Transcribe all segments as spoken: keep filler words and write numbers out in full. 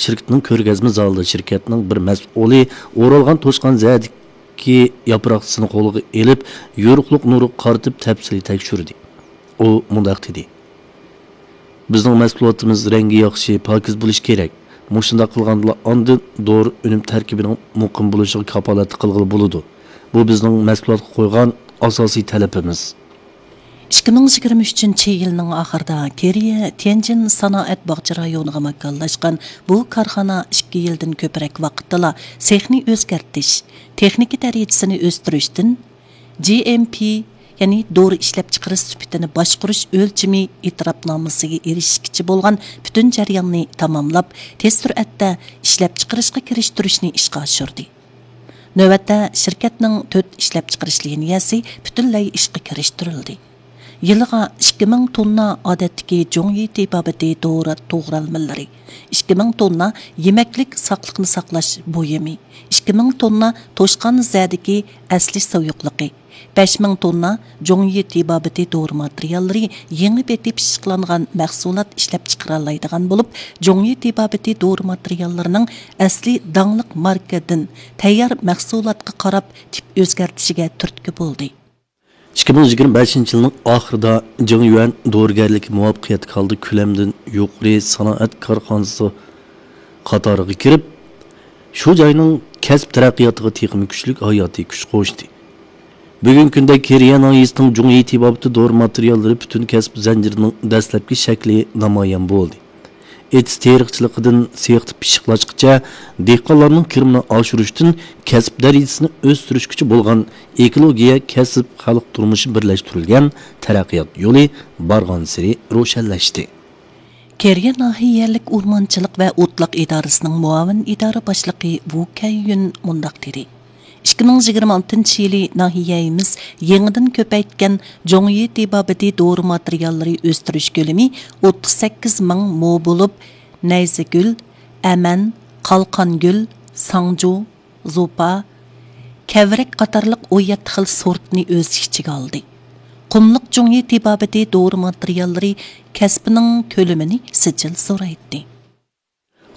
شىركىتىنىڭ كۆرگەزمە زالىدا شىركەتنىڭ بىر مەسئۇلى ئورالغان توشقان زەدىكى ياپراقچىسىنى قولىغا ئېلىپ، يورۇقلۇق نۇرىغا قارىتىپ تەپسىلىي تەكشۈردى. ئۇ مۇنداق دېدى: بىزنىڭ مەھسۇلاتىمىز رەڭگى ياخشى، پاكىز بولۇشى كېرەك. مۇشۇنداق قىلغاندىلا ئاندىن دورا ئۈنۈم تەركىبىنىڭ مۇقىم بولۇشىغا كاپالەتلىك قىلغىلى بولىدۇ. بۇ بىزنىڭ مەھسۇلاتقا قويغان ئاساسىي تەلىپىمىز. ئىككى مىڭ يىگىرمە ئۈچىنچى يىلنىڭ ئاخىرىدا كېرىيە تيەنجىن سانائەت باغچە رايونىغا ماكانلاشقان بۇ كارخانا ئىككى يىلدىن كۆپرەك ۋاقىتتىلا سېخنى ئۆزگەرتىش، تېخنىكا دەرىجىسىنى ئۆستۈرۈشتىن، جي ئېم پى، يەنى دورا ئىشلەپچىقىرىش سۈپىتىنى باشقۇرۇش ئۆلچىمى ئېتىراپنامىسىگە ئېرىشىشكىچە بولغان پۈتۈن جەرياننى تاماملاپ، تېز سۈرئەتتە ئىشلەپچىقىرىشقا كىرىشتۈرۈشنى ئىشقا ئاشۇردى. نۆۋەتتە شىركەتنىڭ تۆت ئىشلەپچىقىرىش لىنىيەسى پۈتۈنلەي ئىشقا كىرىشتۈرۈلدى. يىلىغا ئىككى مىڭ توننا ئادەتتىكى جۇڭيى تېبابىتى دورا توغرالمىلىرى، ئىككى مىڭ توننا يېمەكلىك ساقلىقنى ساقلاش بۇيۇمى، ئىككى مىڭ توننا توشقان زەدىكى ئەسلى سۇيۇقلۇقى، بەش مىڭ توننا جۇڭيى تېبابىتى دورا ماتېرىياللىرى يېڭى بېتى پىششىقلانغان مەھسۇلات ئىشلەپچىقىرالايدىغان بولۇپ، جۇڭيى تېبابىتى دورا ماتېرىياللىرىنىڭ ئەسلى داڭلىق ماركىدىن تەييار مەھسۇلاتقا قاراپ تىپ ئۆزگەرتىشىگە تۈرتكە بولدى. ئىككى مىڭ يىگىرمە بەشىنچى يىلنىڭ ئاخىرىدا جېڭ يۈەن دورىگەرلىكى مۇۋەپپەقىيەتلىك ھالدا كۆلەمدىن يۇقىرى سانائەت كارخانىسى قاتارىغا كىرىپ، شۇ جاينىڭ كەسىپ تەرەققىياتىغا تېخىمۇ كۈچلۈك ھاياتىي كۈچ قوشتى. بۈگۈنكى كۈندە كېرىيە ناھىيەسىنىڭ جۇڭيى تېبابىتى دورا ماتېرىياللىرى پۈتۈن كەسىپ زەنجىرىنىڭ دەسلەپكى شەكلى نامايان بولدى. ئېتىز تېرىقچىلىقىدىن سېختا پىششىقلاشقىچە، دېھقانلارنىڭ كىرىمىنى ئاشۇرۇشتىن كەسىپ دەرىجىسىنى ئۆستۈرۈشكىچە بولغان ئېكولوگىيە، كەسىپ، خەلق تۇرمۇشى بىرلەشتۈرۈلگەن تەرەققىيات يولى بارغانسېرى روشەنلەشتى. كېرىيە ناھىيەلىك ئورمانچىلىق ۋە ئوتلاق ئىدارىسىنىڭ مۇئاۋىن ئىدارە باشلىقى ۋۇ كەييۈن مۇنداق دېدى: ئىككى مىڭ يىگىرمە ئالتىنچى يىلى ناھىيەمىز يېڭىدىن كۆپەيتكەن جۇڭيى تېبابىتى دورا ماتېرىياللىرى ئۆستۈرۈش كۆلىمى ئوتتۇز سەككىز مىڭ مو بولۇپ، نەيزىگۈل، ئەمەن، قالقانگۈل، ساڭجۇ، زوپا، كەۋرەك قاتارلىق ئون يەتتە خىل سورتنى ئۆز ئىچىگە ئالدى. قۇملۇق جۇڭيى تېبابىتى دورا ماتېرىياللىرى كەسپىنىڭ كۆلىمىنى سىجىل زورايتتى.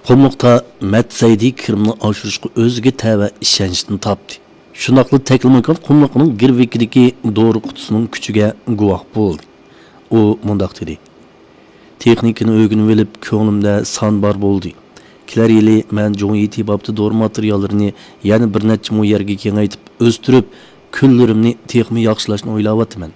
قۇملۇقتا مەتسەيدى كىرىمنى ئاشۇرۇشقا ئۆزىگە تەۋە ئىشەنچنى تاپتى. شۇنداقلا تەكلىماكان قۇملۇقىنىڭ گىرۋىكىدىكى دورا قۇتىسىنىڭ كۈچىگە گۇۋاھ بولدى. ئۇ مۇنداق دېدى: تېخنىكىنى ئۆگىنىۋېلىپ، كۆڭلۈمدە سان بار بولدى. كېلەر يىلى مەن جۇڭيى تېبابىتى دورا ماتېرىياللىرىنى يەنە بىر نەچچە مو يەرگە كېڭەيتىپ ئۆستۈرۈپ، كۈنلىرىمنى تېخىمۇ ياخشىلاشنى ئويلاۋاتىمەن.